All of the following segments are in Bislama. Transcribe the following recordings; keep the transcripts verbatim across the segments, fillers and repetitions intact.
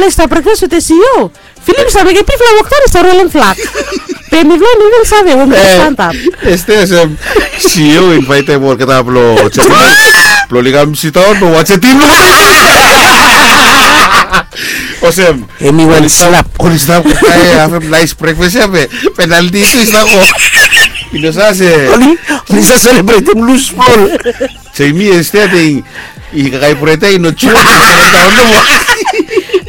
Ples ta brekfas wetem CEO. Filip i save mekem bifala wok daun i stap rolem flak. Be mifala i no even save we mifala i stap antap. Este olsem CEO i invaitem olgeta blong Jeremia blong oli kam sidaun blong wajem tim. Olsem, em i wan slap. Oli stap kakae hafem nais brekfas ya be penalti tu i stap go. I no save se oli, oli save selebretem lus bol. Jemi este ating i kakae bret ya i no jua.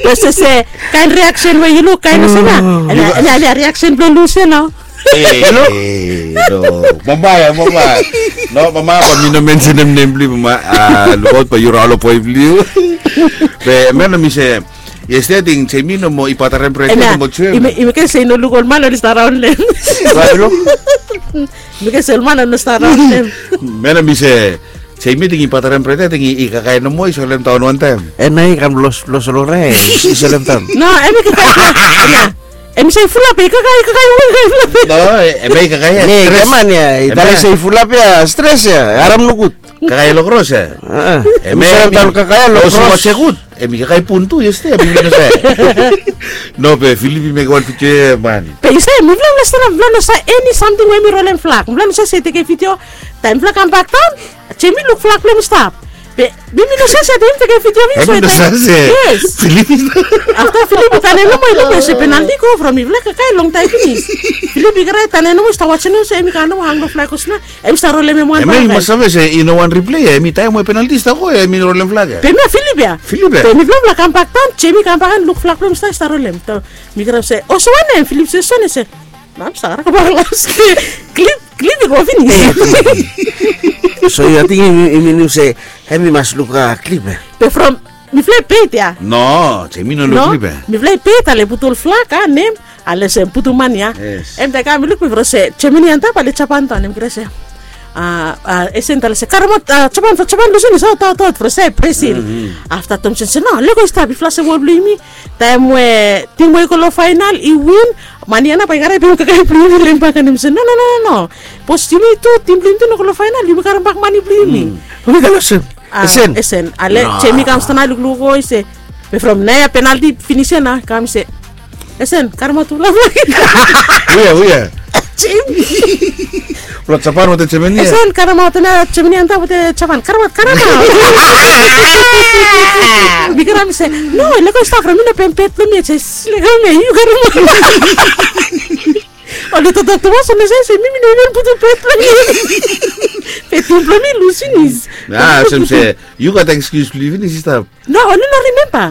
Be se se kaen reaksen we yu luk kaen olsem ya. Em ya, em ya reaksen blong lus ya nao. E no, mama ya, mama. No, mama, bae mi no mensenem nem blong yu, mama. A, lukaot bae yu raon long boe blong yu. Be mena mi se, yestede ating Jemi nomo i batarem bret ya nomo jua. I mekem se i no luk ol man oli stap raonem. Mekem se ol man oli no stap raonem. Mena mi se, Jemi ating i batarem bret ya, ating i kakae nomo i solem daon wantaem. Ena i kam los, los long rae i solem daon. No, em i kakae. Em i se i fulap ya, i kakae, i kakae, i kakae fulap ya. No, em ya i kakae ya. Ne, stres. Keman ya, i talem se i fulap ya, stres ya, harem nogud. Kakae long kros ya. Em ya i solem daon kakae long kros. Em i kakae bun tu, yestede, em i no save. No, be Filip i mekem wan video ya man. Be yu save, mifala, mifala stap, mifala no save eni samting we mi rolem flak. Mifala no save se i tekem video. Taem mifala kambak daon, Jemi luk flak blong hem i stap. Be mi, mi no save se taem mi tekem video mi. Em i no save se. Yes. Filip i stap. Afta Filip i tanem nomo i luk se penalti go from mifala kakae longtaem finis. Filip i karae tanem nomo i stap wajem se em i kam nomo hang long flak olsem ya. Em i stap rolem hem wan bae. Em i mas save se i no wan riple ya, em i taem we penalti i stap go ya, em i rolem flak ya. Be mi ya Filip ya. Filip ya. Be mifala, mifala kambak daon, Jemi kambak and luk flak blong hem i stap, i stap rolem. Mi krai se, o, so wanem? Filip se, so wanem? Se, mam, stap kara kambak las. Klip, klip i go finis. So yu ating i minim se em i mas luk klip ya? Be from mifala i pet ya. No, Jemi no luk klip ya. Mifala i pet, ale putum ol flak, a, nem. Ale se putum man ya. Em taem i kam i luk mi from se Jemini antap, ale Japan daon, em krai se, a, a, Esen talem se karemaot, a, Japan, from Japan lusim i se aot, aot, aot from se Brazil. Afta Tomsen se no, lego i stap, i flasem wol blong yumi. Taem we tim we i go long faenal i win, man ya nao bae i karae bringim kakae blong yumi long hem bak, and hemi se no, no, no, no, no. Bikos yumi tu, tim blong yumi tu i no go long faenal, yumi karem bak mane blong yumi. Yumi talem olsem. A, Esen. Esen. Ale Jemi i kam stap nao i lukluk, i se, be from naoia penalti finis ya nao, i kam i se, Esen, karemaot tufala flak. Hue ya, hue ya? Jemi. From Japan wetem Jemini ya? Esen, karemaot nao Jemini antap wetem Japan. Karemaot, karemaot. Mi krai mi se, no, lego i stap, from mi no pem pet blong mi ya, jes lego mi ya, yu karemaot. Oli toktok tumas, oli save se mi, mi no even putum pet blong mi. Be tim blong mi i lus finis. A, olsem se yu gat ekskius blong yu finis i stap. No, oli no rimemba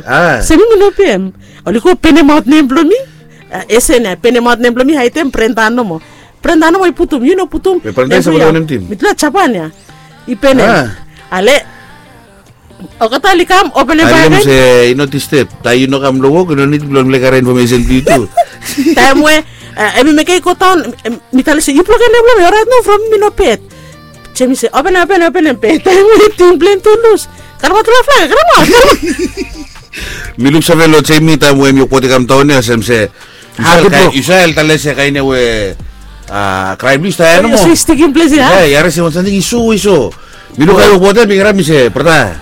se mi, mi no pem. Oli go penemaot nem blong mi. A, Esen ya penemaot nem blong mi, haedem Brenda nomo. Brenda nomo i putum, yu no putum. Be Brenda i save wanem tim? Mitufala Japan ya. I penem. Ale olgeta oli kam openem bae. Hemi se i no disteb. Taem yu no kam long wok i no nid blong mifala i karem infomesen blong yu tu. Taem we, a, hemi mekem i go daon, mi talem se yu blokem nem blong mi, oraet nao, from mi no pet. Jemi se openem, openem, openem, be taem we tim blong hem tu i lus, karemaot tufala flak, karemaot, karemaot. Mi luksave long Jemi taem we hemi wokbot i kam daon ya, olsem se yu save talem se kaen ia we, a, kraem blong yu i stap ia nomo. Yu stikim ples ia. Ia, yu harim se wan samting i so, i so. Mi lukaot wokbot ia, mi krai mi se, brata,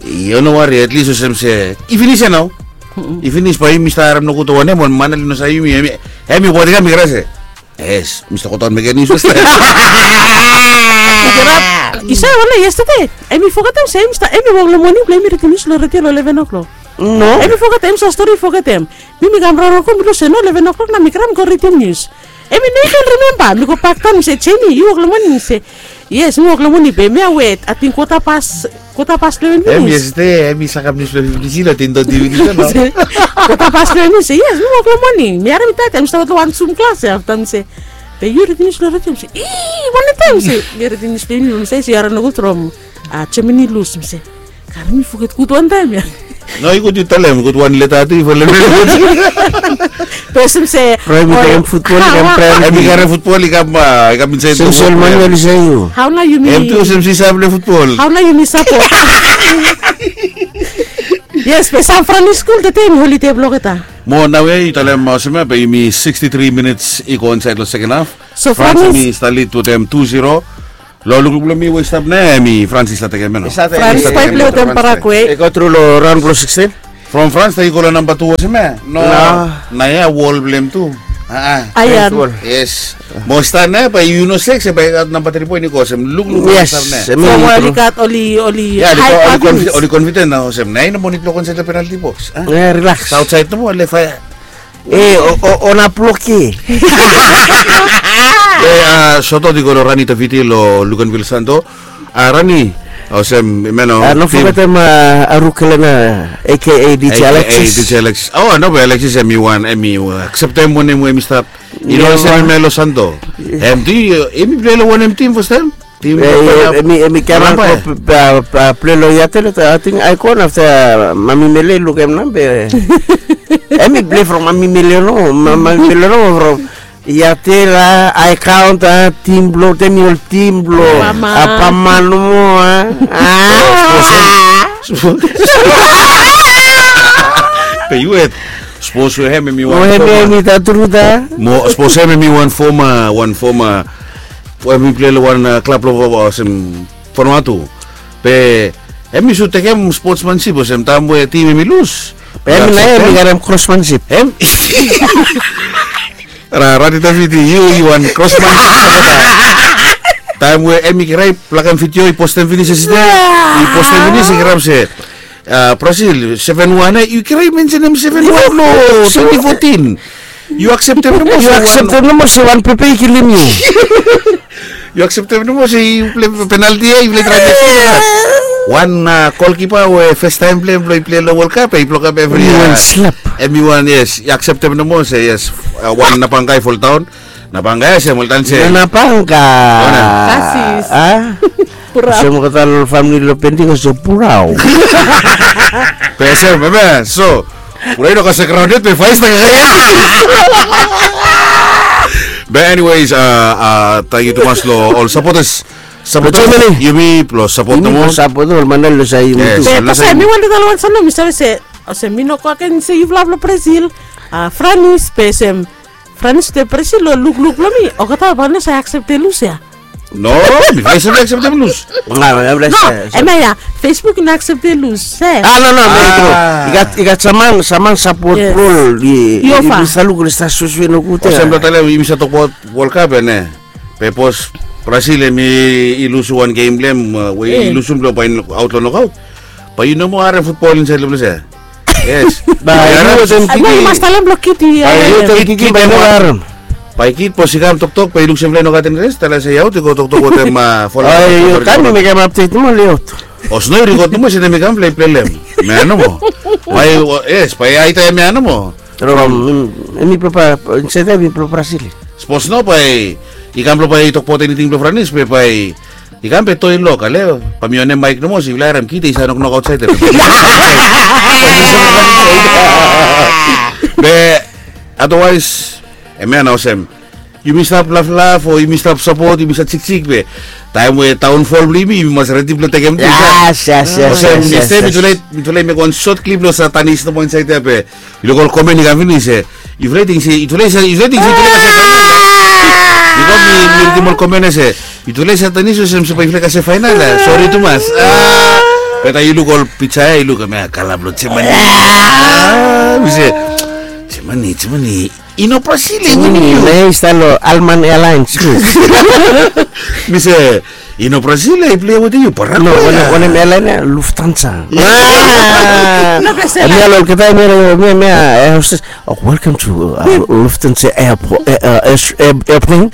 yu no wari, at least olsem se i finis ia nao. I finis, bae yumi stap harem nogut ol wanem, wan man oli no save yumi, hemi wokbot i kam, mi krai se, yes, mi stap godaon mekem nius fastaem. Yu save wanem, yestede hemi fogetem se hemi stap, hemi wok long moning blong hemi ridim nius long redio long leven o'clock. No. Hemi fogetem, hemi save stori, fogetem. Mi, mi kam raon raon go, mi luk se no, leven o'clock nao, mi krai mi go ridim nius. Hemi no even rimemba. Mi go bakdaon, mi se, Jemi, yu wok long moning? Hemi se, yes, mi wok long moning, be hemia we ating kwota pas, kwota pas leven finis. Hemi yestede hemi sakem nius blong hemi finis, i no, ten toti finis nao. Kwota pas leven finis. Mi se, yes, mi wok long moning. Mi harim i taem, taem mi stap long wan Zoom klas ia, afta mi se, be yu ridim nius long redio? Hemi se, i, wanem taem? Mi se, mi ridim nius blong hemi, mi se, yu harim nogut from, a, Jemini lus. Mi se, karem, mi foget gud wantaem ia. No, i gud yu talem, i gud wan leta tu i folem. Be olsem se, from hemi karem futbol i kam, a, i kam insait. Olsem se ol man ia oli save yu. Hao nao yumi, hem tu olsem se i save plei futbol. Hao nao yumi sapot? Yes, be San Fran i skul tede, hemi holide blong olgeta. Mo naoia i talem olsem ia, be yumi sixty-three minits i go insaed long seken haf. So France hemi stap lid wetem two zero. Long lukluk blong mi we i stap nao, hemi France i stap tekem ia nao. France bae i plei wetem Paraguay. I go tru long raon blong sixteen. From France taem yu go long namba tu olsem ya. No. Nao ya wol blong hem tu. Aa. Yes. Mo stap nao ya bae yu no sek se bae i gat namba tri poen i go olsem. Lukluk olsem nao. From oli gat oli oli. Ya oli confident nao olsem nao i no moa nid blong go insaed long penalti boks. Rilaks. Aotsaed nomo lef ya. E ona bloki. Soto di go long Rani Taviti long Luganville Santo. Rani, olsem, meno. No fogetem Arukelen, aka DJ Alexis. DJ Alex. O no be Alexis em i wan em i akseptem wanem we em i stap. I no olsem em ya long Santo. Em tu em i pilai long wanem tim fastaem? Em i kam ago pilai long Yatel, ating Aikon afta Mami Mele i lukim namba. Em i pilai from Mami Mele no, Mami Mele no from Yatel, Aikon, tim blong tem i ol tim blong Pama nomo. Be yu et. Sapos we hem em i wan foma. Sapos hem em i wan foma, wan foma. Em i pilai long wan klab blong olsem Vanuatu. Be em i sud tekem spotsmansip olsem taem we tim em i lus. Be em nao em i karem krosmansip. Em Rani Taviti, yu i wan krosmansip. Taem we em i krai plakem vidio i postem finis yestede. I postem finis i kirap se Brasil seven one, yu krai mensenem seven one long twenty fourteen. Yu akseptem nomo se wan pepe i kilim yu. Yu akseptem nomo se yu pilai penalti ya yu pilai traem. Wan golkipa we fastaem blong hem blong i pilai long World Cup ya i blokap evri ya. Em i wan yes, yu akseptem nomo se yes. Wan napangai foldaon. Napangai ya se moltan se. Napangai. Kasis. Olsem olgeta long famili long pending olsem purao. Be olsem eme so. Purao i no kasem graon yet be faes na kakae. Be anyways, tangkiu tumas long ol sapotas. Sapotas yumi blong sapot nomo. Sapot ol manmeri long sait yumi tu. Be tasol mi wantem talem wan samting mi save se olsem mi no go agen se yufala blong Brazil. Franis be olsem Franis te Brazil lo lukluk blong mi olgeta bae no save akseptem lus ya. No, mifala i save akseptem lus. No, hemia ya Facebook i no akseptem lus se. A no no, i gat, i gat sam man, sam man sapot blong ol. I stap luk oli stap suesue nogud ya. Olsem blong talem yumi stap tokbaot World Cup ya ne. Be sapos Brazil hemi lusim wan gem blong hem we i lusim blong bae i aot long nokaot. Bae yu no moa harem futbol insaed long ples ya. Yes. Bae yu wetem kiki. Bae yu wetem kiki bae yu no harem. Bae kid sapos i kam toktok bae i luk se mifala i no gat interes, talem se i aot i go toktok wetem fala. Taem mi mekem apdet nomo oli aot. O sno i rikot nomo se taem i kam mifala i pilai long hem. Mea nomo. Bae yes bae i aita hemia nomo. From hemi blong bae insaed ya hemi blong Brazil. Sapos no bae i kam blong bae i tokbaot eniting blong Franis be bae i kam be toi lok ale. Bae mi onem maek nomo se yufala harem kid i save noknok aotsaed ya. Be otherwise hemia nao olsem yumi stap laflaf o yumi stap sapot yumi stap jiksik be taem we daonfol blong yumi yumi mas redi blong tekem. Olsem yestede mitufala i mekem wan sot klip long Satanis nomo insaed ya be yu luk ol komen i kam finis se yufala i ting se yutufala i save, yutufala i ting se yutufala i kasem faenal ya. Bikos mi ridim ol komen ya se yutufala i save Satanis olsem se bae yufala i kasem faenal ya. Sori tumas. Be taem yu luk ol pija ya yu luk hemia kala blong Jemani. Mi se Jemani, Jemani i no Brasil ya i winim yu. Hemia i stap long Alman Airlines. Mi se i no Brasil ya i pilai wetem yu, Paraguay ya. Wanem airline ya? Lufthansa. Hemia long olgeta hemia, hemia, hemia. Welcome to Lufthansa airplane.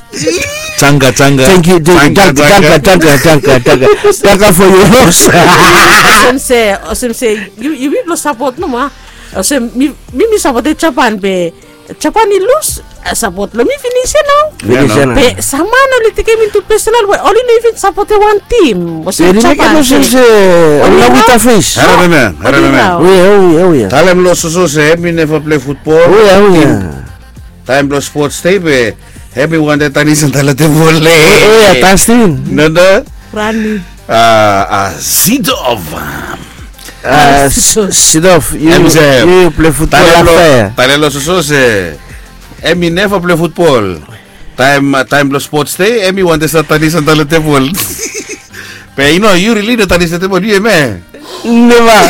Tanga, tanga. Thank you, thank you, tanga, tanga, tanga, tanga. Tanga for your loss. Olsem se, olsem se yumi blong sapot nomo a. Olsem mi, mi sapotem Japan be Japan i lus, sapot blong mi finis ya nao. Finis ya nao. Be sam man oli tekem intu pesonal we oli no even sapotem wan tim. Olsem Japan se oli no without face. Harem hemia, harem hemia. Talem long Soso se hemi neva pilai futbol. Taem blong spots dei be hemi wantem tanis antap long tebol. Tastin. Nanda. Rani. Sidov. Sidov, yu pilai futbol afta ya? Talem long Soso se hemi neva pilai futbol. Taem, taem blong spots dei hemi wantem stap tanis antap long tebol. Be yu no, yu rili no tanis long tebol yu hemia? Neva.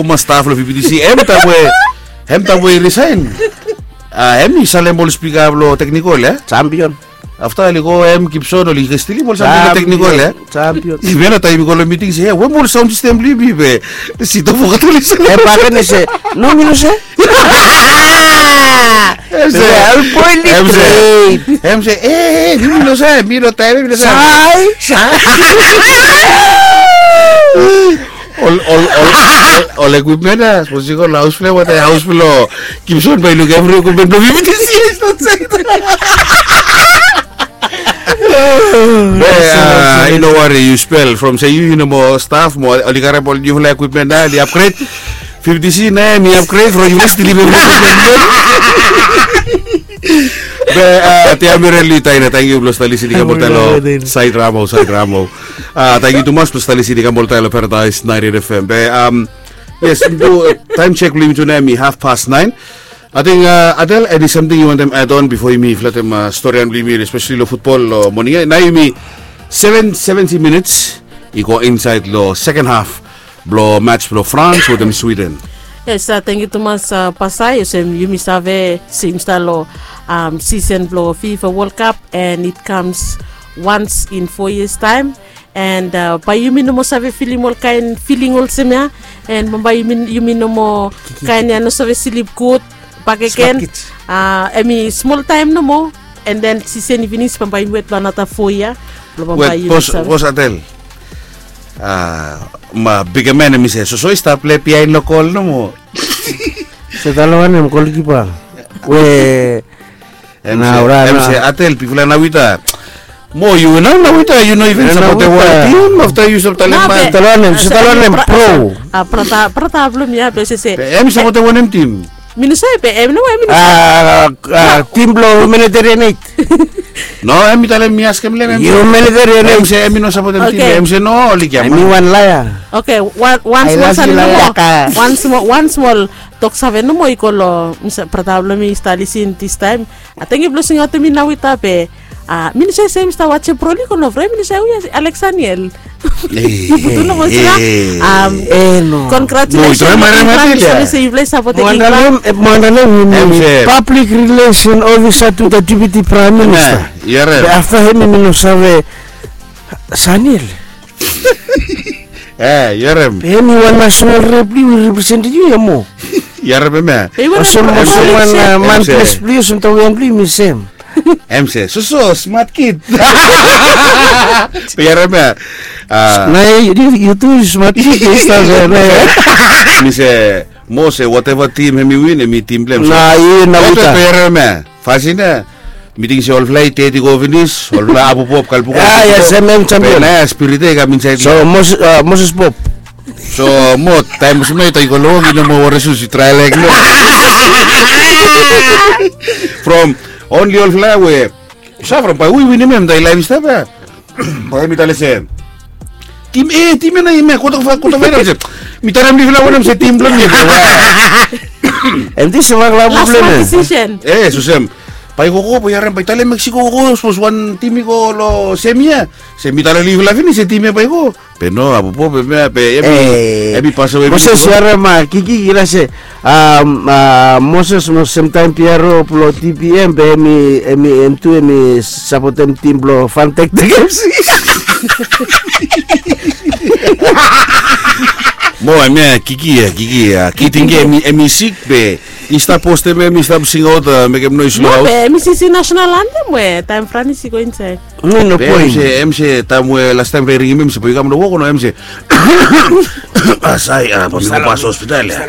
foma staf long V B T C, em taem we, em taem we i risaen. A, em i salem ol spika blong teknikol, ya. Champion. Afta oli go, em Gibson oli stilim ol samting long teknikol, ya. Champion. Even taem yumi go long miting se, ya, we ol saon sistem blong yumi be, sidaon fogat oli se. Em baken i se, no, mi no save. Em se, em se, e, mi no save, mi no taem, mi no save. Ol, ol, ol, ol, ol ekwipmen ya, sapos i go long haos blong, wata haos blong Gibson bae i luk evri ekwipmen blong V B T C. Be, a, i no wari, yu spel from se yu, yu no moa staf, mo oli karem ol niufala ekwipmen ya, oli upgrade. V B T C nao hemi upgrade from yufala stilim evri ekwipmen. Be, a, Tia Mirel Litaina, tangkiu blong stap lisin i kam oltaem long Saed Ramo, Saed Ramo. A, tangkiu tumas blong stap lisin i kam oltaem long Paradise ninety-eight F M. Be, am, yes, taem jek blong yumi tu nao hemi half past nine. Ating, a, Adel, eni samting yu wantem add on bifo yumi flatem, a, storian blong yumi, espeseli long futbol long moning ya? Nao hemi seven seventy minits i go insaed long seken haf blong mats blong France wetem Sweden. Yes, a, tangkiu tumas, a, Pasai, olsem yumi save se yumi stap long, am, sisen blong FIFA World Cup, and it comes once in four years time. And, a, bae yumi no moa save filim ol kaen filing olsem ya. And bambae yumi, yumi no moa kaen ya, no save slip gud bakegen. A, hemi smol taem nomo. And then sisen i finis, bambae yumi wet long anata foa yia. Blong bambae yumi save. Bos Adel. A, ma bigeman hemi se, soso i stap plei biaen long gol nomo. Se tale wanem, golkipa? We Em se, em se Adel, bigfala Nawita. Mo yu nao Nawita, yu no iven sapotem wan tim, afta yu stap talem man. Tale wanem, se tale wanem, bro. A, brata, brata blong mi ya, be se se. Be hem i sapotem wanem tim? Mi no save, be hem no, mi no save. A, tim blong Humanitarian Aid. No, hem i talem mi askem long hem. Humanitarian Aid. Hem i se hem i no sapotem tim, be hem i se no, oli kiam. Hem i wan laea. Oke, wan, wan smol samting nomo. Wan smol, wan smol toksave nomo i go long, mi save, brata blong mi i stap lisin distaem. A, tangkiu blong singaotem mi Nawita be, a, mi no save se mi stap wajem Pro League o no, from mi no save hu ya, Alexaniel. Yu putum nomo sina. Am, congratulations. Mo yu try marem Adel ya. Mo yu try sapotem England. Mo anda nem, mo anda nem, public relation officer to the deputy prime minister. Be afta hem mi no save Saniel. E, yu harem. Hem i wan national rep blong yu, i represented yu ya mo. Yu harem hem ya. Olsem, olsem wan, a, man ples blong yu, olsem tawian blong yu, mi sem. Hem se, soso, smart kid. Yu harem ya. A. Nao yu, yu tu smart kid, yu stap ya, nao. Mi se, mo se, whatever team hem i win, hem i team blong hem. Nao yu, Nawita. Yu harem ya. Fasin ya, mi ting se olfala i teti go finis, olfala Abubop, Kalbuka. A, yes, hem, hem champion. Be nao ya spirit ya i kam insaed. So, Mos-, a, Moses Bob. So, mo, taem olsem nao i go long wok, i no moa wore sus, i trael laek no. From only olfala we, yu save from bae hu i winim hem, taem laef i stap ya. Bae mi talem se, tim A, tim A nao hemia, kota fa, kota fa i nao se. Mi talem mifala wanem se tim blong mi. Hem, this is a last one decision. E, so sem. Bae i gogo, bae yu harem, bae i talem Mexico gogo, sapos wan tim i go long semi ya. Se mi talem long yufala finis se tim ya bae i go. Be no, Abubop, be, be, hem i, hem i pasawe. Moses, yu harem, a, Kiki, i talem se, a, Moses mo semtaem P R O blong T P M, be hem i, hem i, hem tu hem i sapotem tim blong Fantek Tek F C. Mo, hemia, Kiki ya, Kiki ya. Kiting hem i, hem i sik, be i stap postem hem, i stap singaot, a, mekem noes long haos. Be hem i sisi national anthem we taem Franis i go insaed. No, no point. Be hem se, hem se taem we lastaem bae i ringim hem se bae yu kam long wok o no, hem se. A, sae, a, bae mi go pas hospital ya.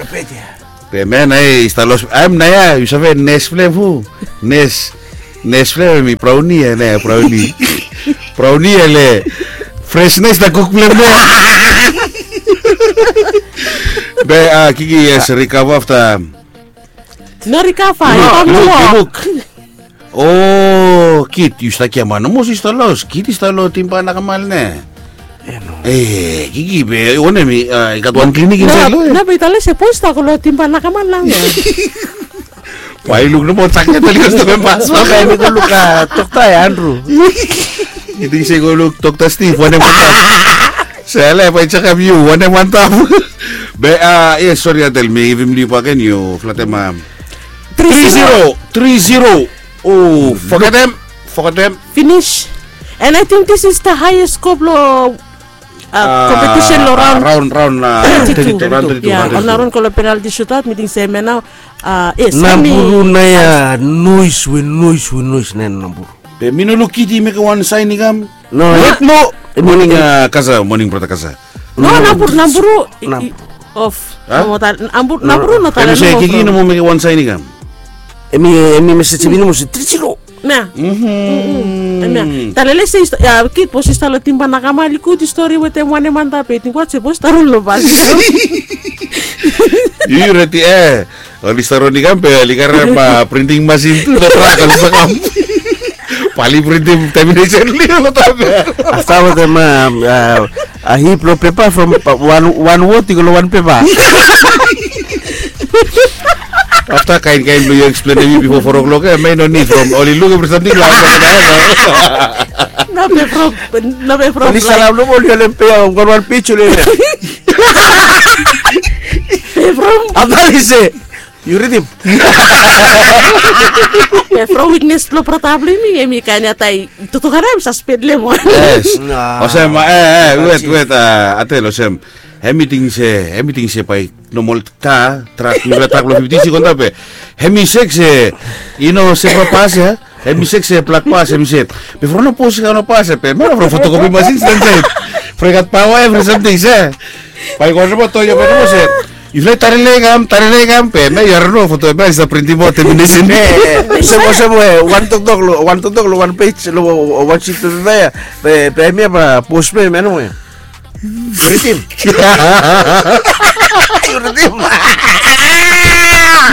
Be man, ai, i stap los. Am, nao ia, yu save nes blong hem fu? Nes, nes blong hem hemi Brownie ia, nao ia, Brownie. Brownie ia le fresnes na kuk blong hem nao ia. Be, a, Kiki, yes, recover afta. No recover, no, i kam long wok. O, Kit, yu stap gia man, olmos yu stap los. Kit i stap long Timba Nakamal ne. E, Kiki, be wanem, i gat wan klinik insaed long ia? No, be i talem se bos i stap go long Timba Nakamal nao ia. Bae i luk nomo jaket oli go stap long bas. No, bae mi go luk, a, dokta ia, Andrew. Yu ting se go luk Dokta Steve, wanem, wanem. Sele, bae i jekap yu, wanem, wanem. Be, a, yes, sori, Atel, mi givim yu bakegen, yu flatem, a, tri zero. Tri zero. O, fogetem, fogetem. Finish. And I think this is the highest score lo, a, competition lo raon, raon, a, thirty-two. Ia, ol nao raon go lo penalty shootout, mi ting se hemia nao, a, yes, Naburu nao ia, nois we nois we nois nao ia Naburu. Be mi no luk Kit i mekem wan saen i kam. No, yet no. Moning, a, Kasa, moning brata Kasa. No, Naburu, Naburu, of. Naburu, Naburu no talem nomo. Kiki nomo mekem wan saen i kam. Hemi, hemi mesej hemi nomo se tri zero. Nao. Hemia. Talem se, ia, Kit, bos i stap long Timba Nakamal, i gud yu stori wetem wanem antap, be i ting wat se bos i stap long bas. Yu redi, e. Oli stap rong i kam, be oli karem printing masin tu, lo trak oli stap kam. Bae oli printim termination long i lo trak ia. Afta wetem, a, a hip lo pepa from wan, wan wod i go lo wan pepa. Afta kaen, kaen blong yu eksplenem mi bifo four o'clock ia, mi no nid from oli luk evri samting long afta. No be from, no be from. Oli salam nomo, oli holem pe ia, wan, wan pej oli holem ia. Be from. Afta oli se, yu ridim. Be from wiknes blong brata blong yumi, hemi kaen ia taem i toktok ia, hemi saspen long hem wan. Yes. Olsem, e, e, wet, wet, a, Atel, olsem. Hemi ting se, hemi ting se bae nomol ka, trak, niufala trak blong fifti i go antap ia. Hemi sek se i no se propa pas ia. Hemi sek se blak pas, hemi se. Be from no pos i kam no pas ia, be hemia from fotokopi masin i stap insaed. From i gat paoa evri samting se. Bae i go nomo, toyo bae nomo se. Yufala i tarele i kam, tarele i kam, be hemia yu harem nomo, foto hemia i stap printim aot termination. Olsem, olsem we wan toktok lo, wan toktok lo wan pej lo wan sit lo toktok ia. Be, be hemia bae pos blong hem ia nomo ia. Ridim. Ridim.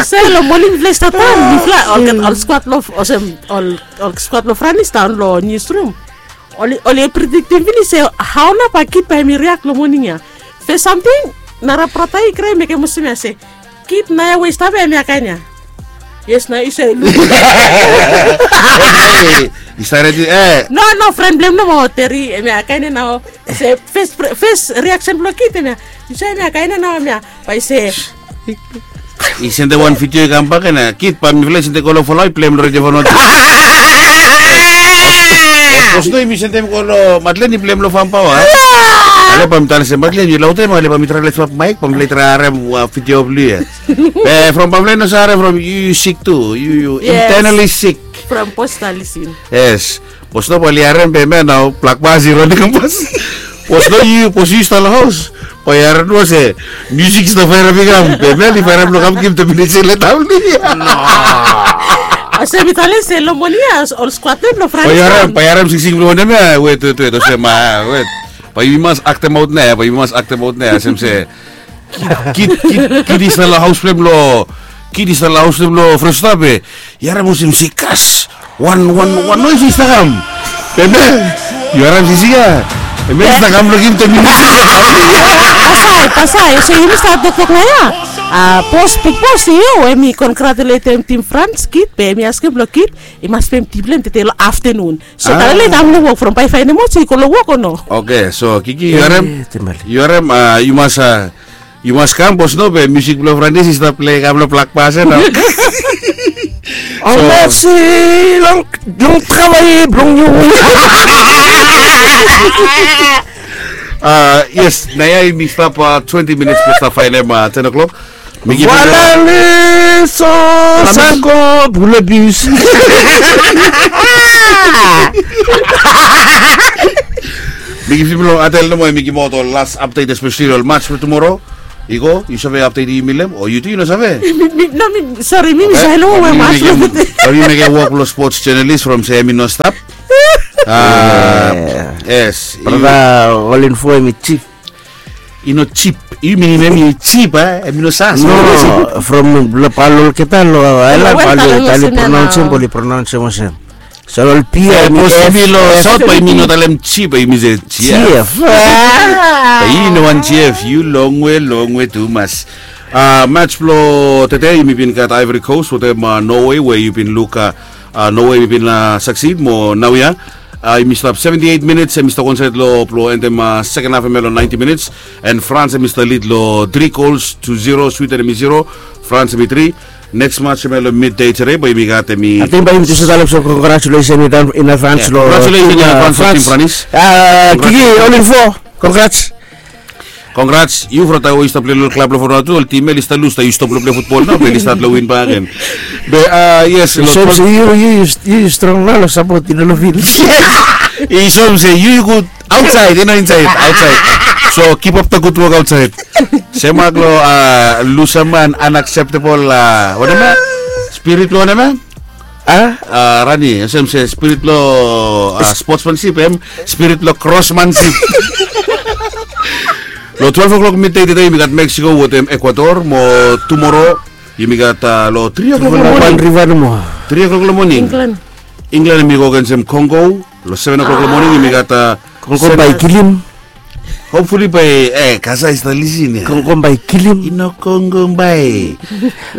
Se lo moning mifala i stap tan, mifala olgeta ol skuad lo, olsem, ol, ol skuad lo Franis daon lo niusrum. Oli, oli prediktim finis se hao nao bae Kit bae hemi riak lo moning ia. Fes samting, nara brata i krai mekem olsem ia se, Kit nao ia we i stap ia, hemia kaen ia. Yes, nao i se luk. I stap redi, e. No, no, fren blong hem nomo, Teri, hemia kaen ia nao. Se fes, fes riaksen blong Kit hemia. I se hemia kaen ia nao hemia. Bae i se. I sendem wan vidio i kam bak ia, Kit, bae mifala i sendem go lo Folau, i plei hem lo Redio Vanuatu. Bos no, yumi sendem go lo Madlen, i plei hem lo Farm Power. Ale bae mi talem se Madlen, yu laotem, ale bae mi traem lesem maek, bae mifala i traem harem wan vidio blong yu ia. Be from bae mifala i no save harem from yu, yu sik tu, yu, yu internally sick. From bos i stap lisin. Yes. Bos no bae oli harem be hemia nao blak pas i ron i kam pas. Bos no, yu, bos yu stap lo haos. Bae yu harem nomo se musik i stap faerap i kam. Be hemia oli faerap lo kam givim termination leta blong yu. Olsem mi talem se lo moning ia ol skuad blong Franis. Bae yu harem, bae yu harem singsing blong wanem ia? Wet, wet, wet, olsem, a, wet. Bae yumi mas aktem aot nao ia, bae yumi mas aktem aot nao ia, olsem se Kit, Kit, Kit i stap lo haos blong hem lo, Kit i stap lo haos blong hem lo Fresno be. Yu harem olsem se kras. Wan, wan, wan noes i stap kam. Be hemia, yu harem se siga. Hemia i stap kam lo givim termination. Pasai, pasai, olsem yumi stap toktok nao ia. A, bos, big bos, yu, hemi kongratuletem tim Frans, Kit, be hemi askem lo Kit i mas pem tip blong hem tede lo aftenun. So talem i kam lo wok from bae i faenem aot se i go lo wok o no. Oke, so Kiki, yu harem, yu harem, a, yu mas, a, yu mas kam, bos no be musik blong Franis i stap plei kam lo blak pas ia nao. Ol mesi long, long travay blong yu. A, yes, nao ia yumi stap, a, twenti minits blong stap faenem, a, ten o'clock. Voilà le son, sanko, boule bus. Mi givim lo Atel nomo, mi givim aot ol last update, especially ol match blong tomorrow. I go, yu save apdeti yumi long hem o yu tu yu no save? Mi, mi, no, mi, sori, mi, mi save long we mas. Ol yu mekem wok long sports journalist from se hemi no stap. Yes. Brata, ol info hemi jip. I no jip. Yu minim hemi jip a? Hemi no sas. No, from lo palo olgeta lo aelan palo tale pronaonsem, bali pronaonsem olsem. Solo ol pia. Bos yumi lo saut bae yumi no talem jip, bae yumi se jief. Jief. Bae yu no wan jief, yu longwe, longwe tumas. Mats blo tede yumi bin gat Ivory Coast wetem Norway we yu bin luk Norway bin succeed mo naoia yumi stap seventy eight minutes, hemi stap wan saed lo blo endem second half hemia lo ninety minutes. And France hemi stap lead lo three goals to zero, Sweden hemi zero, France hemi three. Next match hemia lo midday today bae yumi gat hemi. Ating bae yumi tu save talem so congratulations in advance lo. Congratulations in advance lo team France. Kiki, ol info. Congrats. Congrats, yu from taem we yu stap plei lo klab lo Vanuatu, ol tim ya oli stap lus taem yu stop lo plei futbol nao bae oli stat lo win bakegen. Be yes, yu strong nao lo sapot i no lo field. I soem se yu yu gud aotsaed i no insaed, aotsaed. So kipap da gud wok aotsaed. Semak lo lusaman unacceptable wanem ya? Spirit lo wanem ya? A? Rani olsem se spirit lo sportsmanship, hem spirit lo crossmanship. Lo twelve o'clock midday tede yumi gat Mexico wetem Ecuador mo tumoro yumi gat lo three o'clock lo moning. Three o'clock lo moning England hemi go agensem Congo. Lo seven o'clock lo moning yumi gat Congo bae kilim. Hopefully bae e Gaza i stap lisin ya. Kongo bae kilim. I no Kongo bae.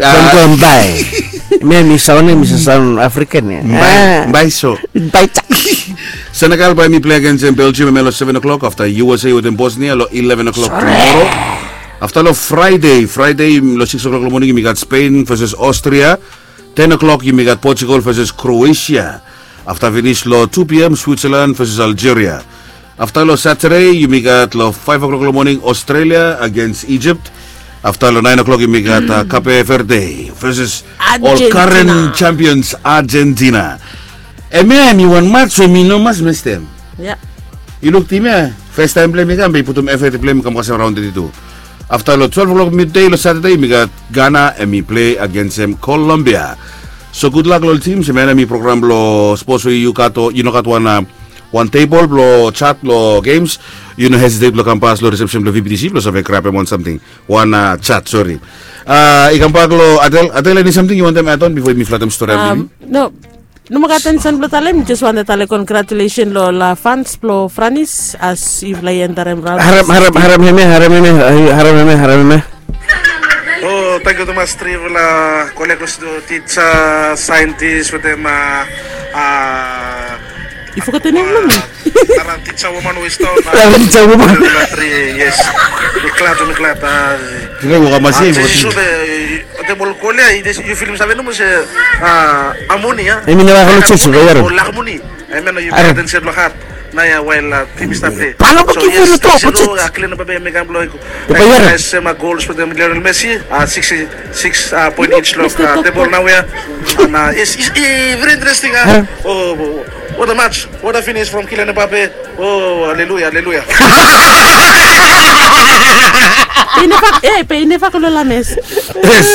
Kongo bae. Hemia hemi saon, hemi saon African ya. Bae so. Bae. Senegal bae hemi plei agensem Belgium hemia lo seven o'clock, afta U S A wetem Bosnia lo eleven o'clock tumoro. Afta lo Friday, Friday lo six o'clock lo moning yumi gat Spain versus Austria. Ten o'clock yumi gat Portugal versus Croatia. Afta finis lo two p.m. Switzerland versus Algeria. Afta lo Saturday yumi gat lo five o'clock lo moning Australia against Egypt. Afta lo nine o'clock yumi gat Cape Verde versus ol current champions Argentina. Hemia hemi wan mats we mi no mas mestem. Yu luk tim ya, fes taem blong hem i kam be i putum effort blong hem i kam kasem raon thirty-two. Afta lo twelve o'clock midday lo Saturday yumi gat Ghana hemi plei agensem Colombia. So gudlak lo ol tim, hemia nao hemi program blo sports we yu gat o yu no gat wan wan table blo chat lo games, yu no hesitate blo kam pas lo reception blo V B T C blo save grabem wan samting. Wan chat, sori. I kambak lo Adel. Adel, eni samting yu wantem add on bifo yumi flatem stori ya? No. Nomo gat eni samting blo talem, mi jes wantem talem congratulation lo ol fans blo Franis as yufala i enterem raon. Harem, harem, harem hemia, harem hemia, harem hemia, harem hemia. O, tangkiu tumas trifala kolekos, tisa, saentis wetem a I fogetem nem blong mi. Nara tisa woman we i stap. Nara tisa woman. Yes. Mi glad, mi glad. Tebol gol ya, yu filim save nomo se amoni ya. Hemi neva follow church, o lakmoni. Hemia nao yu pay attention lo hat. Nao ya wael tim i stap plei. Palo bo kifo lo tok. Kilian babe hemi kam blo yu. Bae yu sema gols wetem Lionel Messi. Six point each lo tebol naoia. And it's very interesting. Oh, what a match. What a finish from Kylian Mbappe. Oh, haleluya, haleluya. Pe i neva, e, pe i neva go lo lames. Yes.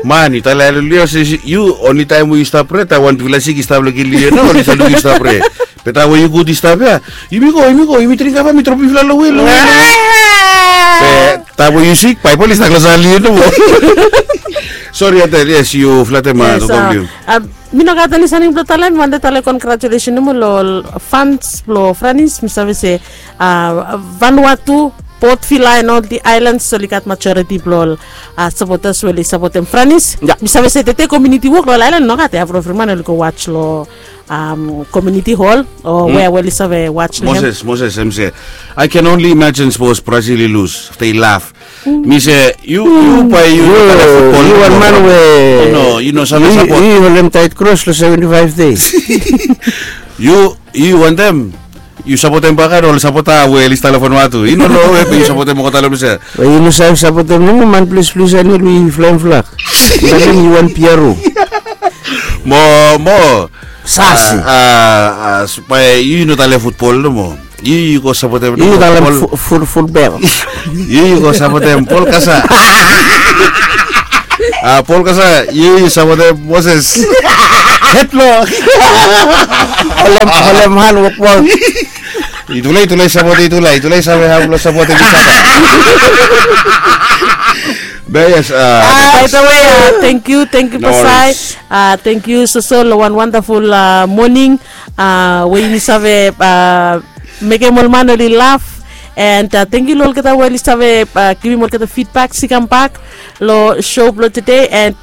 Man, yu talem haleluya se yu only taem we yu stap prea, taem wan bigfala sik i stap lo kilim yu nao oli stap luk yu stap prea. Be taem we yu gud i stap ya, yumi go, yumi go, yumi dring kava, mi drop yufala lo we, lo we, lo we. Be taem we yu sik, Baebol i stap klosap lo yu nomo. Sori Adel, yes, yu flatem. Mi no gat eni samting blo talem, mi wantem talem congratulation nomo lo ol fans blo Franis. Mi save se Vanuatu, Port Vila and all the islands oli gat majority blo ol supporters we oli sapotem Franis. Mi save se tede community wok lo ol island i no gat ya, evri man oli go watch lo community hall o wea we oli save watch lo hem. Moses, Moses, hemi se, I can only imagine sapos Brazil i lus, afta i laf. Mi se, yu, yu bae yu no talem futbol. Yu wan man we, no, yu no save sapot. Yu holem taet kros lo seventy five days. Yu, yu wantem yu sapotem baka ol sapota we oli stap lo Vanuatu. I no lo we be yu sapotem olgeta lo ples ya. Be yu no save sapotem nomo man ples ples ya, no, yu flaem flak. Bae yu wan P R O. Mo, mo. Sasi. Bae yu no talem futbol nomo. Yu yu go sapotem. Yu yu talem ful bel. Yu yu go sapotem Pol Kasa. A Pol Kasa, yu yu sapotem Moses. Hetlo. Holem holem han wokpol. Itula itula i sapotem itula itula i save han blo sapotem itula. Be yes. By the way, thank you, thank you pasai. Thank you soso lo wan wonderful morning. We yumi save mekem ol man oli laf. And thank you lo olgeta we oli save givim olgeta feedback si kambak lo show blo tede. And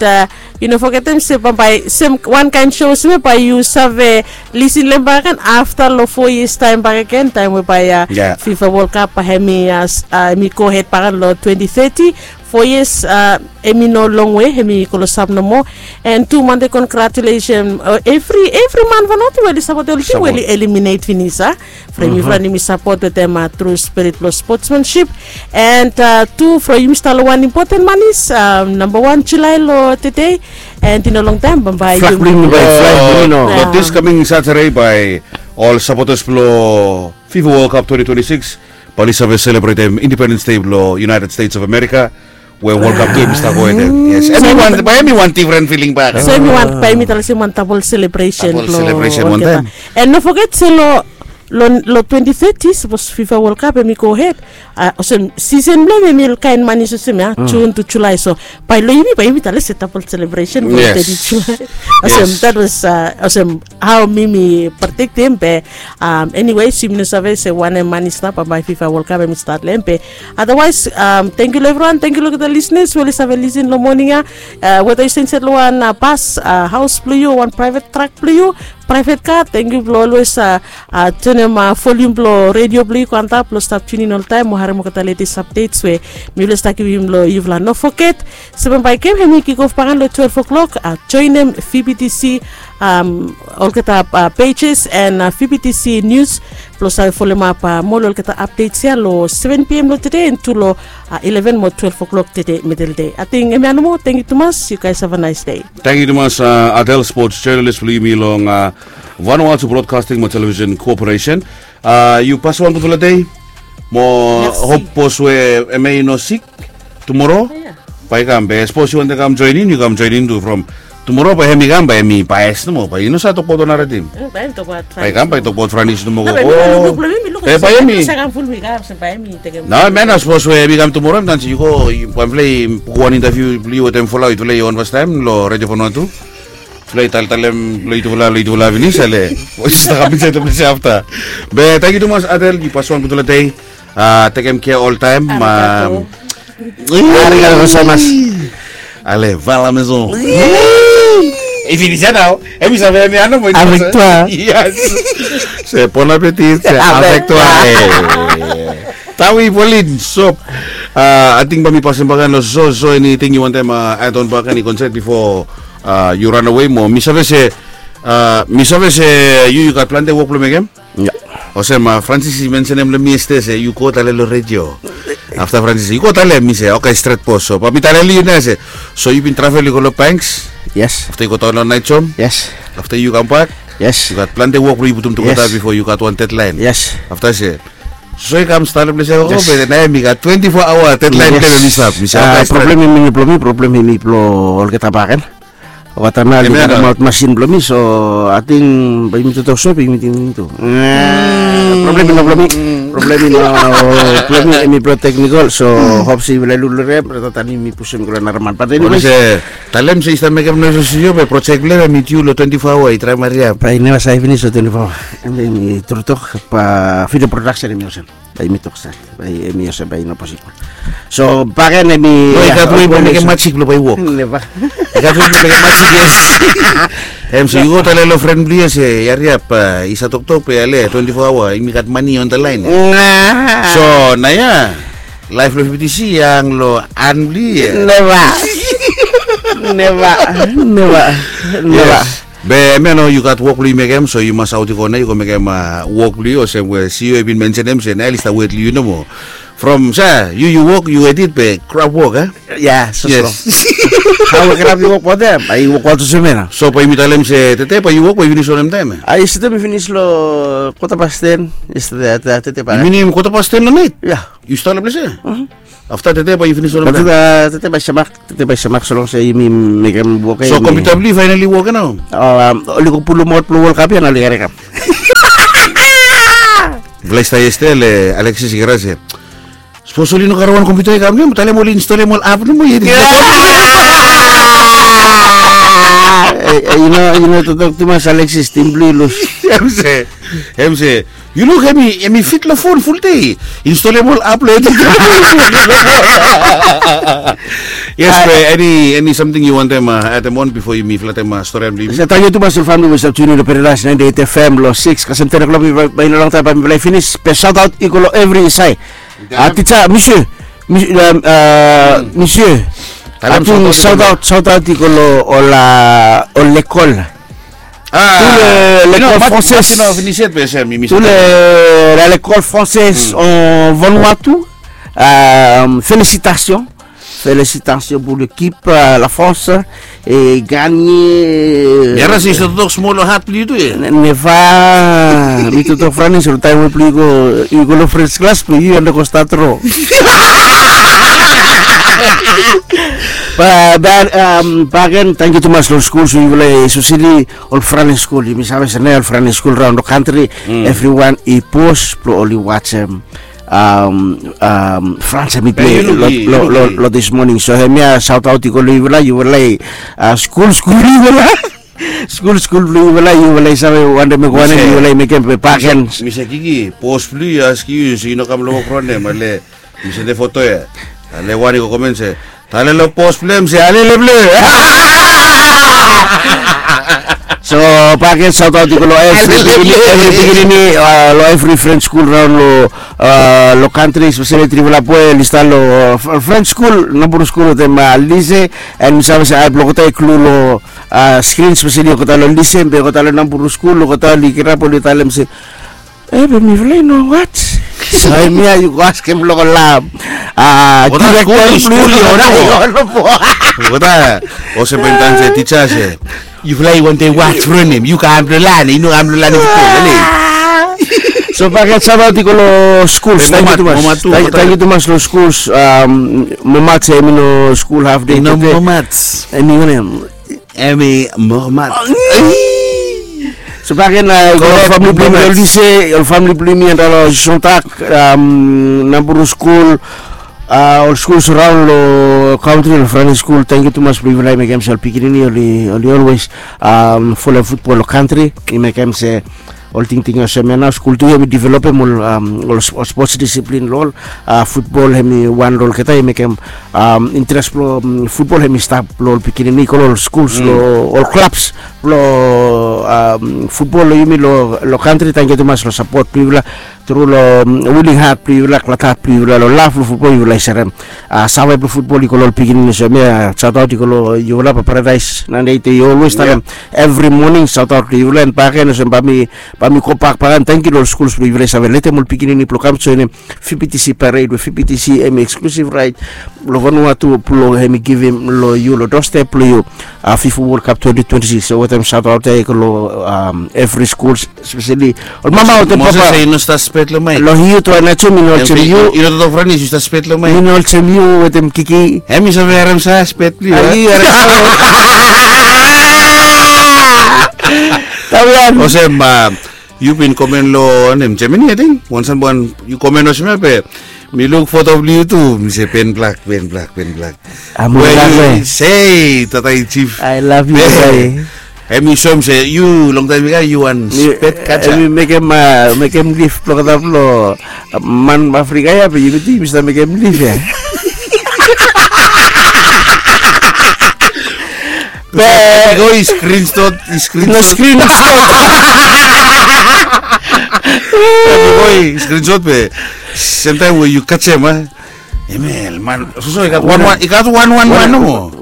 yu no fogetem se bambae sem wan kaen show olsem ya bae yu save lisin lo hem bakegen afta lo four years taem bakegen, taem we bae fifa world cup bae hem i go hed bakegen lo twenty thirty. Four years hem i no longwe, hem i klosap nomo. And tu mande congratulation evri evri man Vanuatu we oli sapotem ol tim we oli eliminate finis a from yufala nemi sapot wetem tru spirit blo sportsmanship. And tu from yumi stap lo wan impoten manis, namba wan Julae lo tede. And i no longtaem bambae yumi. Lo this coming Saturday bae ol sapotas blo fifa World Cup twenty twenty-six bae oli save selebretem Independence Day blo United States of America. We World Cup tu hem i stap go wetem. Yes, bae hem i wan difren filing bak. So hem i wan bae hem i talem se hem i wan dabol selebresen blo olgeta. And no foget se lo lo twenty thirty sapos fifa World Cup hem i go hed, olsem sisen blo hem hem i ol kaen manis olsem ya Jun tu Julae. So bae lo yumi bae yumi talem se dabol selebresen blo teti Julae. Olsem that was olsem hao mi mi prediktem be. Eniwe yumi no save se wanem manis nao bambae fifa World Cup hem i stat lo hem be. Otherwise, thank you lo evriwan, thank you lo olgeta listeners we oli save lisin lo moning ya. Weta yu stap insaed lo wan bas haos blo yu o wan praevet trak blo yu, praevet ka, thank you blo olwes tunem volium blo redio blo yu go antap blo stap tunin oltaem mo harem olgeta latest updates we mi oli stap givim lo yufala. No foget se bambae gem hem i kikof bakegen lo twelve o'clock. Joenem vbtc olgeta pages and vbtc news blo save folomap mo lo olgeta updates ya lo seven pm lo tede and tu lo eleven mo twelve o'clock tede mideldei. Ating hemia nomo, tangkiu tumas, yu guys have a nice day. Tangkiu tumas Adel, sports journalist blo yumi long Vanuatu Broadcasting mo Television Corporation. Yu paswan gudfala dei. Mo hop bos we hemia i no sik tumoro bae i kam be sapos yu wantem kam joenin yu kam joenin tu from tumoro bae hem i kam bae hem i baes nomo bae i no save tokbaot wan nara tim. Bae i kam bae i tokbaot Franis nomo go. Be bae hem i nao hemia nao sapos we hem i kam tumoro hem i tan se yu go bae mifala i buk wan intaviu blo yu wetem Folau, yutufala i on fastaem lo redio Vanuatu. Tufala i taltalem lo yutufala lo yutufala finis ale. Stap kam insaed lo ples ya afta. Be tangkiu tumas Adel, yu paswan gudfala dei. Tekem kea oltaem. Arigato gozaimasu. Ale vala meson. I finis ya nao. Hem i save hemia nomo. Avec toi. Yes. Se bon appetit se avec toi. Tawi Polin sop. Ating bae mi pasem bakegen lo soso eniting yu wantem add on bakegen i konsep bifo yu ranawe mo mi save se mi save se yu yu gat plante wok blong mekem. Olsem Francis i mensenem long mi yestede se yu go talem long redio. Afta Francis yu go talem mi se oke stret bos. So bae mi talem long yu nao se so yu bin travel yu go long Banks. Yes. Afta yu go daon long Naijom. Yes. Afta yu kambak. Yes. Yu gat plante wok blong yu putum tugeta bifo yu gat wan dedlaen. Yes. Afta se so i kam stap long ples ya gogo be nao mi gat twenti fo aoa dedlaen blong em i stap. Mi se oke stret. Problem hemi no blong mi, problem hemi blong olgeta bakegen. Olgeta nao oli kamaot masin blong mi, so ating bae yumi toktok so bae yumi ting tu. Problem i no blong mi. Problem i no blong mi, hemi blong teknikol. So hop se yufala i luk long hem, brata Tani, mi pusum i go long nara man. Bat eniwe se talem se i stap mekem noes long studio be projek blong hem hemi diu long twenti fo aoa, i traem hariap. Bae i neva save finis long twenti fo aoa. Hemi tru tok, bae video production hemi olsem. Bae yumi tok stret bae hemi olsem bae i no posibol. So bakegen hemi no i gat wei blong mekem majik blong bae i wok. Neva. I gat wei blong mekem majik, yes. Hem so yu go talem long fren blong yu se hariap, i save toktok be ale twenti fo aoa yumi gat mane on the line. So naoia laef blong fbtc i hang long han blong yu. Neva. Neva. Neva. Neva. Be hemia nao yu gat wok blong yu mekem, so yu mas aot i go nao yu go mekem wok blong yu olsem we CEO i bin mensenem se nao oli stap wet long yu nomo. From sa, yu yu wok, yu edit be Grab wok, a? Ya, so so. Hau we Grab yu wok baotem, a yu wok olsem ya nao. So bae yumi talem se tede bae yu wok bae yu finis wanem taem ya? A yestede mi finis long kota pas ten. Yestede, tede bae. Yu minim kota pas ten long naet? Ya. Yu stap long ples ya? Afta tede bae yu finis wanem taem? Afta tede bae semak, tede bae semak, so long se yumi mekem wok ya. So kompiuta blong yu faenali wok ya nao? Oli go pulum aot blong World Cup ya nao oli kam. Blais taem yestede Alexis i krai se, sapos oli no karem wan kompiuta i kam nomo, talem oli instolem ol app nomo ia. Yu no, yu no totok tumas Alexis, tim blong yu lus. Hem se, hem se, yu luk hem i fit long fon fuldei. Instolem ol app long. Yes, be eni samting yu wantem adem on bifo yumi flatem storian blong yumi? Tangkiu tumas long famili we i stap tiunin long Paradise ninety eight F M long sikis kasem ten o'clock. Bae i no longtaem bae mifala i finis, be saotaot i go long evri saed. Tija, misie, misie, ating saotaot, saotaot i go long ol, ol lekol. Tou le lekol fransez, tou le lekol fransez en Vanuatu. Felisitasyon, felisitasyon pou lekip la Frans. E ganye. Yara se yu save totok smol long hat blong yu tu ya. Neva. Mi totok Franis long taem we blong yu go, yu go long French class blong yu and go start ro. Bagen, tangkiu tumas long skuls we yufala, espeseli ol Franis skul. Yumi save se nao ol Franis skul raon long kantri, evriwan i pos blong oli wajem Frans hemi plei long dis moning. So hemia saotaot i go long yufala, yufala i skul skul blong yufala. Skul skul blong yufala, yufala i save wantem mekem wanem, yufala i mekem be bagen. Mista Kiki, bos blong yu i askem yu se yu no kam long wok raon ya, ale mi sende foto ya. Ale wan i go komen se, talem long bos blong hem se alele blong yu. So bagen saotaot i go long evri pikinini, long evri French skul raon long kantri, espeseli trifala boe oli stap long French skul, Naburus skul wetem Lise. And mi save se ae blong olgeta i klu long skrin, espeseli olgeta long Lise be olgeta long Naburus skul, olgeta oli kirap oli talem se, e be mifala i no waj. So hemia yu go askem long ol direkta blong yu. Olgeta olsem bae mi talem se tija se, yufala i wantem waj from hem, yu kam blong lanem, i no kam blong lanem. So bagen saotaot i go long skuls. Tangkiu tumas long skuls. Momats hemi no skul hafdei tede. Hemi wanem? Hemi Momats. So bagen i go long famili blong yumi long Lise, ol famili blong yumi antap long Sontak, Naburus skul, ol skuls raon long kantri, ol Franis skul. Tangkiu tumas blong yufala i mekem se ol pikinini oli, oli olwes folem futbol long kantri. I mekem se ol tingting olsem ya nao skul tu hemi developem ol, ol spots disiplin long ol. Futbol hemi wan long olgeta, i mekem interes blong futbol hemi stap long ol pikinini i go long ol skuls, long ol klabs blong futbol long yumi long kantri. Tangkiu tumas long sapot blong yufala, tru long willing hat blong yufala, glad hat blong yufala, long lav blong futbol yufala i serem. Save blong futbol i go long ol pikinini. Olsem ya saotaot i go long yufala, Paradise ninety eight i olwes talem evri moning saotaot long yufala. And bagen olsem bae mi, bae mi gobak bagen, tangkiu long ol skuls blong yufala i save letem ol pikinini blong kam joenem V B T C pared we V B T C hemi eksklusiv raet long Vanuatu blong hemi givim long yu long dostep blong yu. FIFA World Cup twenty twenty-six. So wetem saotaot ya i go long evri skuls, espeseli ol mama wetem papa. Moses, i no stap spet long maek. Long yu tu, Nacho, mi no olsem yu. I no totok Franis, yu stap spet long maek. Mi no olsem yu wetem Kiki. Hemi save harem sa spet blong yu. Olsem yu bin komen long wanem, Germany ating, wan san wan yu komen olsem ya be mi luk foto blong yu tu, mi se pen blak, pen blak, pen blak. We yu se tata i jif. I love you. Hemi soem se yu longtaem i kam yu wan spet kaja. Hemi mekem, mekem lif blong olgeta blong man Afrika ya, be yumi tu yumi stap mekem lif ya. Be i go i skrinshot, i skrinshot. I go i skrinshot be semtaem we yu kajem a. Emel man, soso i gat wan wan, i gat wan wan man nomo.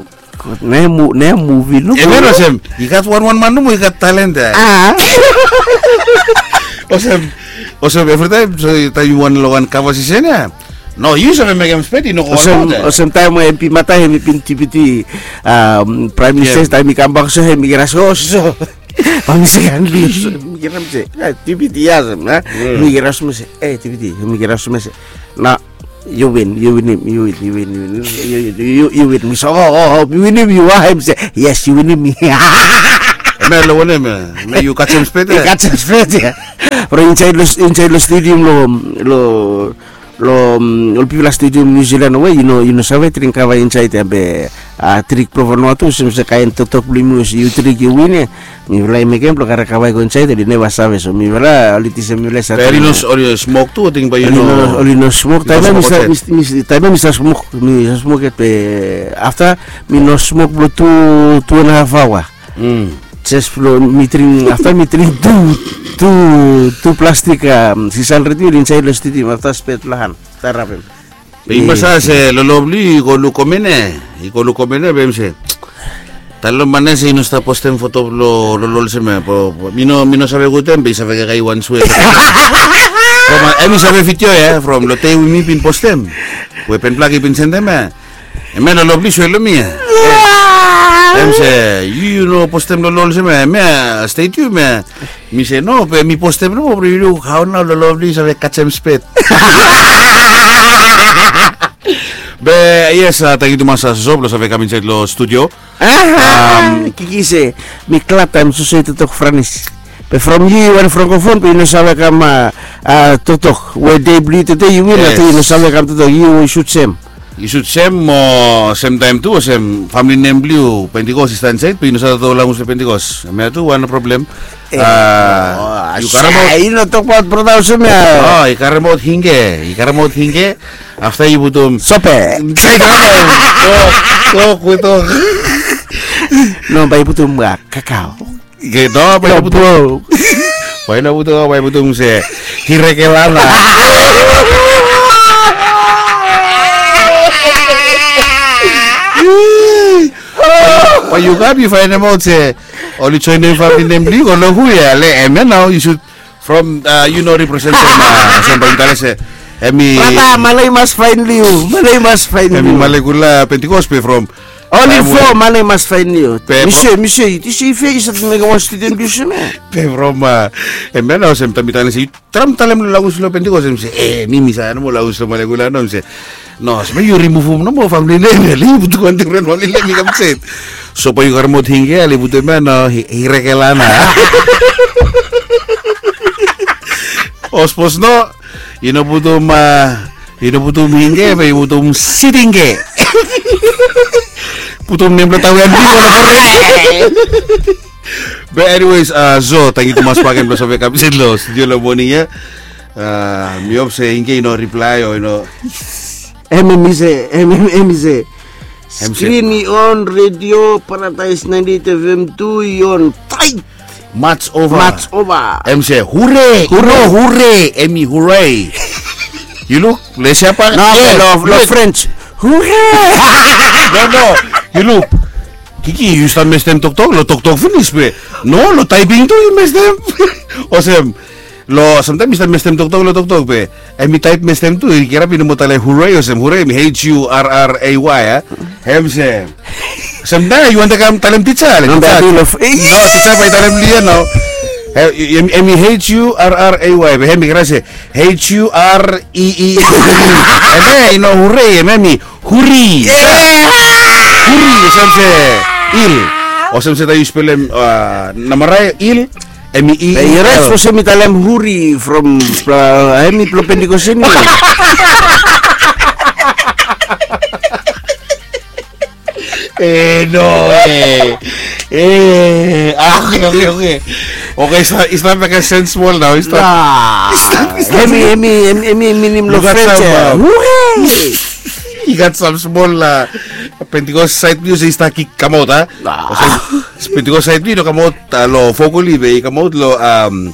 Ne muvi nomo. Emel olsem i gat wan wan man nomo i gat talent ya. Olsem, olsem evritaem so taem yu wan long wan kavasesen ya. No, yu save mekem spet, i no go olsem olbaot, eh. Olsem taem we MP Mata hemi bin dipiti, um, Prime Minister, taem i kambak so hemi kira so so. Ba mi se, mi kira mi se, "Eh, dipiti ya olsem, eh?" Mi kira so mi se, "Eh, dipiti," mi kira so mi se, "Na, yu win, yu winim, yu win, yu win, yu win, yu win." Mi se, "Oh, oh, oh, mi winim yu, ah?" Hemi se, "Yes, yu winim mi." Hemia long wanem, eh? Hemia yu kasem spet, eh? Kasem spet, ya. Bro, insaed lo, insaed lo stadium lo, lo Lo, mm, ol pipol long stadium New Zealand we yu no, yu no save dring kava insaed ya be, a, dring blong Vanuatu olsem se kaen toktok blong yumi olsem yu dring yu win ya. Mifala i mekem blong karem kava i go insaed, oli neva save, so mifala oli tisem mifala i save. Be oli no, oli no smok tu, ating bae yu no. Oli no smok. Taem ya mi stap, mi, mi, taem ya mi stap smok, mi stap smok yet be afta mi no smok blong tu, tu and a half aoa. Jes blong mi dring, afta mi dring tu, tu, tu plastik, a, six hundred ml insaed long stadium, afta spet long han stap rabem. Be yu mas se, Lolo blong yu i go luk komene, i go luk komene be hem se, talem lo man ya se i no stap postem foto blong Lolo olsem ya, mi no, mi no save gud hem be i save kakae wan swe. From, a, hem i save video ya from lo dei we mi bin postem, we Ben Blak i bin sendem ya. Hemia Lolo blong yu i swe long mi ya. Hem se, yu, yu no postem Lolo olsem ya, hemia stadium ya. Mi se, no, be mi postem nomo blong yu luk hao nao Lolo blong yu i save kasem spet. Be yes, a, tangkiu tumas, a, Soso blong save kam insaed long studio. Kiki se, mi glad taem Soso i toktok Franis. Be from yu, yu wan francophone be yu no save kam, a, toktok. We dei blong yu tede yu win, a, yu no save kam toktok, yu sud sem. Yu sud sem mo semtaem tu olsem famili nem blong yu Pentecost i stap insaed be yu no save toktok language blong Pentecost. Hemia tu wan problem. Yu karemaot, yu no tokbaot brata olsem ya. O, yu karemaot Hinge, yu karemaot Hinge. Afta yu putum Sope. Tok, tok, we tok. No, bae yu putum, a, kakao. Ke, no, bae yu putum. Bae yu putum, bae yu putum se, Hirekelana. Bae yu kam yu faenemaot se oli joenem famili nem blong yu, go long hu ya, le hemia nao yu sud from, a, yu no representem, a, olsem bae mi talem se, hemi. Brata, male i mas faen long yu, male i mas faen long yu. Hemi malekula Pentecost be from Oli fo mane i mas faenem yu. Mi se, mi se, yu se yu fes i save mekem wan student yu se me. Be from, a, hemia nao olsem taem mi talem se yu traem talem lo language lo Pentecost, hem se, e, mi mi save nomo language lo malekula nao, hem se, no, olsem yu rimuvum nomo famili nem ya, le yu putum wan difren famili nem i kam insaed. So bae yu karemaot Hinge ya, le yu putum hemia nao, Hi-, Hirekelana. O sapos no, yu no putum, a, yu no putum Hinge, be yu putum Sitinge. Putum nem lo taon ya. Be anyways, a, Zo, tangkiu tumas bakegen blong save kam insaed lo studio lo moning ya. A, mi hop se Hinge i no riplae o i no. Hemi se, hemi, hemi se. Hem se. Skrin i on, redio, Paradaes ninety-eight FM tu i on. Taet. Mats ova. Mats ova. Hem se, hure. Hure. No, hure. Hemi hooray. Yu luk, Lesia pa. No, lo, lo French. Hure. No, no. Yu luk. Kiki, yu stap mestem toktok, lo toktok finis be. No, lo taeping tu yu mestem. Olsem. Lo, samtaem mi stap mestem toktok lo toktok be. Hemi taep mestem tu, i kirap i no moa talem hooray olsem, hooray, hemi H U R R A Y, a? Hem se. Samtaem yu wantem kam talem tija, le tija. No, tija bae i talem lo yu ya nao. Hemi H U R R A Y, be hemi kirap se H U R E E. Hemia i no hooray, hemia hemi huri. Huri, olsem se il. Olsem se taem yu spelem, a, namarai, il. Hemi i. Be yu rait, olsem mi talem huri from, a, hemi blong Pentecost hemi. E, no, e. E, a, oke, oke, oke. Oke, i stap, i stap mekem sens smol nao, i stap. Hemi, hemi, hemi, hemi minim lo French ya. Hooray! I gat sam smol, a, Pentecost saed blong yu se i stap kamaot, a? Olsem Pentecost saed blong yu i no kamaot, a, lo vocally be i kamaot lo, am,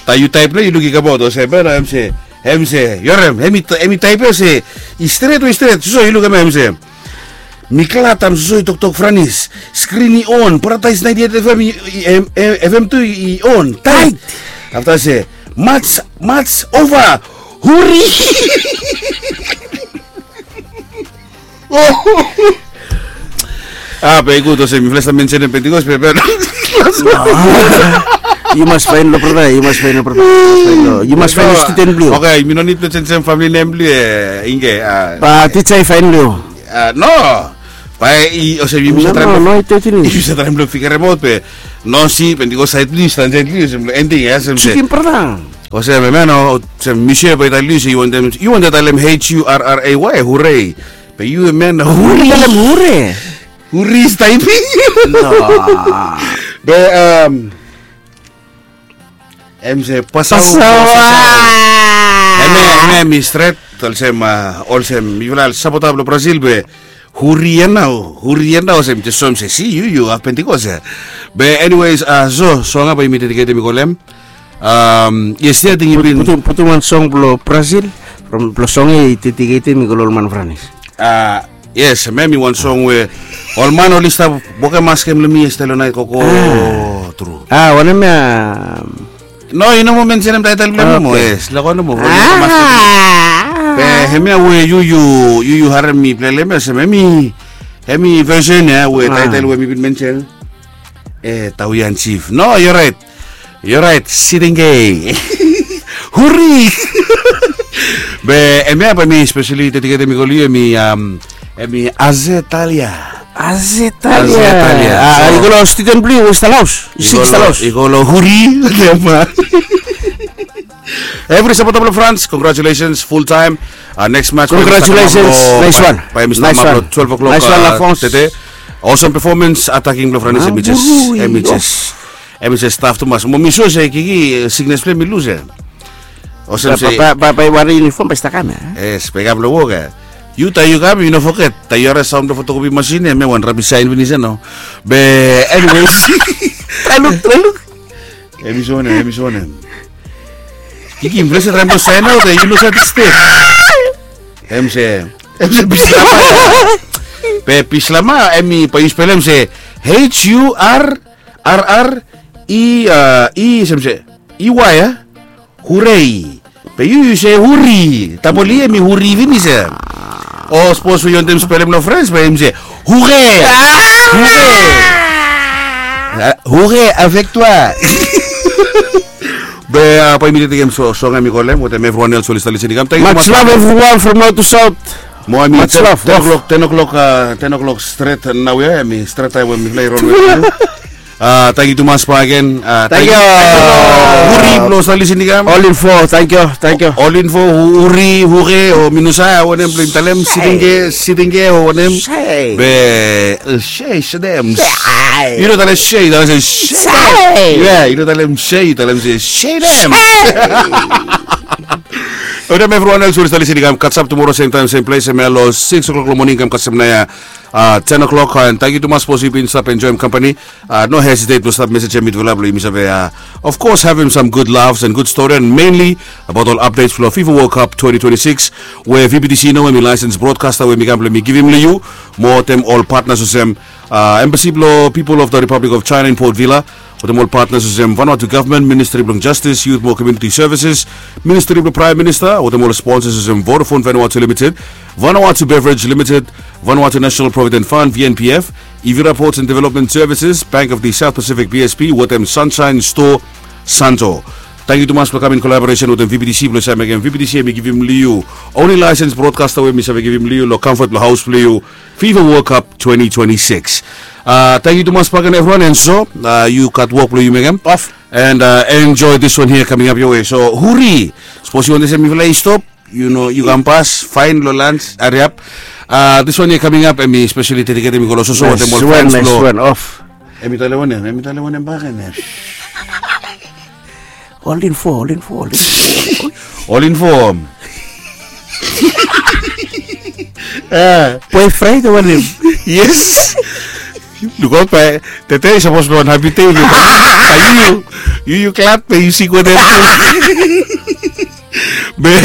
taem yu taep lo yu luk i kamaot olsem, be nao hem se, hem se, yu harem, hemi, hemi taep ya se, i stret we i stret, Soso yu luk hemia, hem se. Mi glad taem Soso i toktok Franis. Skrin i on, Paradaes ninety-eight FM i, i, em, em, FM tu i on. Taet. Afta se, mats, mats ova. Huri. A be i gud olsem mifala i stap mensenim Pentikos be be. Yu mas fain lo brata, yu mas fain lo brata. Yu mas fain lo student blong yu. Oke, mi no nid blong jenisim famili nem blong yu. Ingge. Ba tija i fain lo yu. No. Ba i olsem yu mas traem blong figerem aut be no si Pentikos saed blong yu, stan saed blong yu olsem blong ending ya olsem se. Olsem em ya no olsem Michel ba i talem yu se yu wantem yu wantem talem H U R R A Y, hurei. Be yu em ya no huri. Huri. Huri is typing. No. Be em em se pasau. Em ya em ya mi stret olsem olsem mifala sapota blong Brazil be huri ya nao huri ya nao olsem jes soem se si yu yu haf Pentikos ya. Be anyways a so song ya bae yumi dediketim i go long em. Yes ya ating yu bin putum wan song blong Brazil from blong song ya i dediketim i go long ol man Franis. A yes, em ya mi wan song we ol man oli stap wokem askem long mi yestede long naet koko. Tru. A wanem ya? No, yu no moa mensenem taetel blong em moa. Yes, lako nomo. Be hemia we yu yu yu yu harem mi plei long em ya olsem hemi hemi vesen ya we taetel we mi bin mensen. E tauyan sif. No, yu orait. Yu orait, siting ge. Huri. Be hemia bae mi speseli dediketem i go long yu hemi hemi Azetalia. Azetalia. I go long student blong yu we stap long haos. I go long huri. Evri sapota blong Frans, congratulations full time. Next match. Congratulations. Nice one. Bae mi stap long twelve o'clock tede. Awesome performance, ataking blong Frans hemi jes hemi jes hemi jes staf tumas. Mo mi sua se Kiki siknes blong hem i lus ya. Olsem se bae bae wari uniform bae i stap kam ya. Yes, bae i kam long wok ya. Yu taem yu kam yu no foget taem yu harim saon blong fotokopi masin ya hemia wan rabis saen finis ya nao. Be anyways. Trae luk, trae luk. Hemi so wanem, hemi so wanem? Kiki, mi ples ya traem blong saen aot ya yu no save step. Hem se hem se bislama. Be bislama hemi bae yu spelem se H U R R R E E, olsem se E Y ya. Hurei. Be yu yu se huri. Tapoli hemi huri finis ya. O sapos we yu wantem spelem long Frens bae hemi se hure. Hure. Hure avec toi. Be bae mi tekem song ya mi go long hem wetem evriwan els we oli stap lisin i kam. Much love everyone from north to south. Mo hemi ten o'clock, ten o'clock, ten o'clock stret naoia hemi stret taem we mifala i rol wetem yu. Tangkiu tumas bakegen. Tangkiu. Huri blong oli stap lisin i kam. Ol info, tangkiu, tangkiu. Ol info, huri, hure o mi no save wanem blong yumi talem, siting ge, siting ge o wanem. Be se, sedem. Yu no talem se, yu talem se sedem. Yu no talem se, yu talem se sedem. Wetem evriwan els we oli stap lisin i kam, katsap tumoro sem taem sem ples hemia long six o'clock long moning kam kasem naoia ten o'clock. And tangkiu tumas sapos yu bin stap enjoem kampani. No hesitate blong stap mesejem mitufala blong yumi save, of course, havem sam gud laughs and gud stori and mainly abaot ol updates blong FIFA World Cup twenty twenty-six we VBTC nao hemi laesens brodkasta we mi kam blong mi givim long yu. Mo wetem ol patnas olsem Embassy blong People of the Republic of China in Port Vila, wetem ol patnas olsem Vanuatu Gavman, Ministri blong Jastis, Yut mo Komuniti Sevises, Ministri blong Praem Minista, wetem ol sponsas olsem Vodafone Vanuatu Limited, Vanuatu Beverage Limited, Vanuatu National Provident Fund, VNPF, Ivira Ports and Development Services, Bank of the South Pacific, BSP, wetem Sunshine Store, Santo. Tangkiu tumas blong kam in kolaboresen wetem VBTC blong save mekem VBTC hemi givim long yu only laesens brodkasta we mi save givim long yu long kamfot blong haos blong yu. FIFA World Cup twenty twenty-six. Tangkiu tumas bakegen evriwan and so yu gat wok blong yu mekem. And enjoy this one here coming up your way. So huri, sapos yu wantem se mifala i stop, yu no yu kam pas faen long lans, hariap. This one here coming up hemi speseli dediketem i go long soso wetem ol fans blong. Hemi talem wanem, hemi talem wanem bakegen ya? Ol info, ol info, ol info. Ol info. Boyfriend o wanem? Yes. Lukaot bae tede i sapos blong wan hapi dei. Bae yu yu yu glad bae yu sik wetem. Be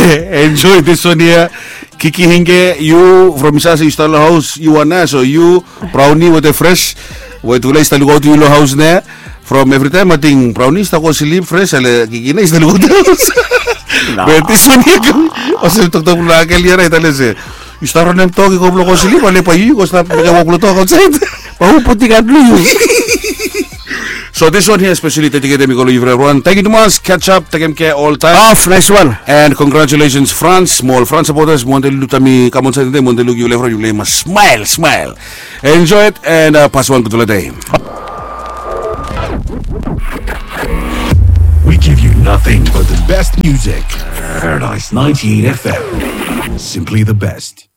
enjoy this one here. Kiki Hinge, yu from i save se yu stap long haos yu wan ya, so yu, Brownie wetem Fresh, we tufala i stap lukaotem yu long haos nao. From evritaem ating Brownie i stap go slip, Fresh ale Kiki nao i stap lukaotem haos. Be this one here kam olsem toktok blong angel ya nao i talem se Yu stap ranem tok i go blong go slip ale bae yu go stap mekem wok blong tok aotsaed. Bae hu putim han blong yu? So this one here especially dediketem i go long yufala evriwan. Tangkiu tumas, catch up, tekem kea oltaem. Of, nice one. And congratulations France, mo ol France supporters, mi wantem luk taem mi kam aotsaed tede, mi wantem luk yufala evriwan, yufala i mas smile smile. Enjoy it and uh, pas wan gudfala dei. We give you nothing but the best music. Paradise ninety-eight F M. Simply the best.